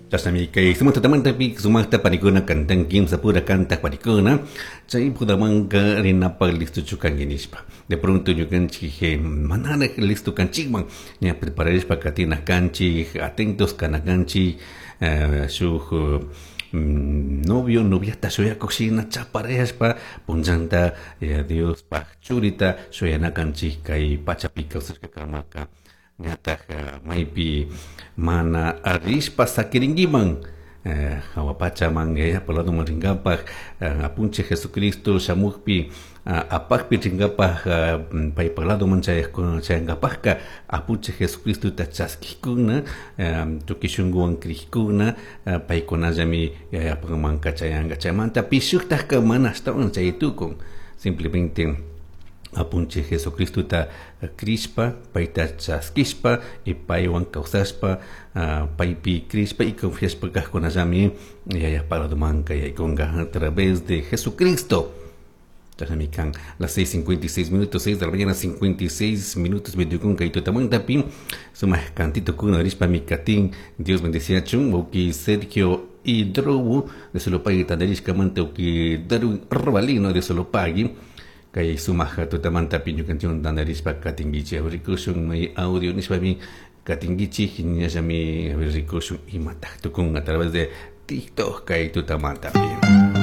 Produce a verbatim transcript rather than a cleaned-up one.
Chashnami kay sumak tutamantapi sumakta panikuna cantan kimsa pura kantak panikuna chay bodamanka rinapak listochu kanki nishpa. De pronto ñukanchik manarak listo kanchikman ña prepararishpa katina kanchik, atentos kana kanchik, shuk novio noviata shuyakuk shina chaparayashpa punllanta Diospaj churita shuyana kanchik kay pachapi kawsashkakamaka ñataj maypi mana rishpa sakirinkiman hawa pachaman yayapa ladoman rinkapak apunchik Jesucristo shamukpi apakpi rinkapak paypak ladoman chayankapakka apunchik Jesucristota chaskikuna tukuy shunkuwan krikuna paykunallami yayapamanka chayanka. Chaymanta pishuktajka mana ashtawan chay tukun, simplemente apunchik Jesucristota krishpa payta chaskishpa y paywan kawsashpa paypi krishpa y confiashpa kajkunallami yayapa ladomanka yaykunka a través de Jesucristo. Chashnami kan las seis cincuenta y seis minutos, seis de la mañana cincuenta y seis minutos, veintiuno kay tutamantapi sumak cantito kuna rishpa mi katin. Dios bendeciachun uki Sergio Hidrobu de Solopagui tandarishkamanta uki Darwin Robalino de Solopagui kay sumak tutamantapi ñukanchik tandarishpa katinkichik rikushun may audio nishpami katinkichik ñallami rikushun imataj tukun a través de TikTok kay tutamantapi.